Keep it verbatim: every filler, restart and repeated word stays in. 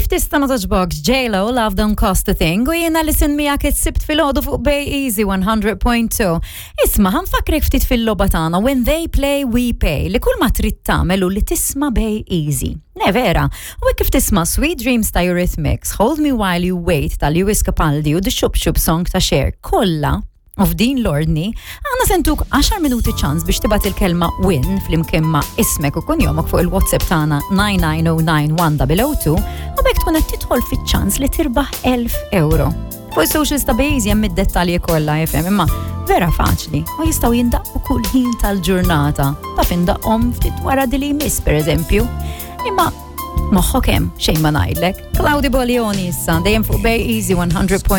Kif tista' ma togħġbokx J-Lo, Love Don't Cost a Thing, u jiena li sin miegħek is-Sibt filgħodu fuq Bay Easy one hundred point two. Isma', ħa nfakkrek ftit fil-logħba tagħna When They Play We Pay, li kull ma trid tagħmel hu li tisma' Bay Easy. Ne vera, u hekk kif tisma' Sweet Dreams ta' Eurythmics, Hold Me While You Wait ta' Lewis Capaldi u The Shoop Shoop Song ta' Cher kollha u f'din l-ordni, aħna se ntuk għaxar minuti ċans biex tibgħat il-kelma "win" flimkien ma' ismek u kunjomok fuq il-WhatsApp tagħna nine nine zero nine one zero zero two u b'hekk tkun qed tidħol fiċ-ċans li tirbaħ elf euro. Fuq is-socials ta' Bejz hemm id-dettalji kollha jifhem, imma vera faċli u jistgħu jindaqqu kull ħin tal-ġurnata. Taf indaqqhom ftit wara dili jmiss, pereżempju. Imma moħħok hemm, xejn ma ngħidlek. Claudio Baglioni issa dejjem fuq Bay Easy one hundred point two.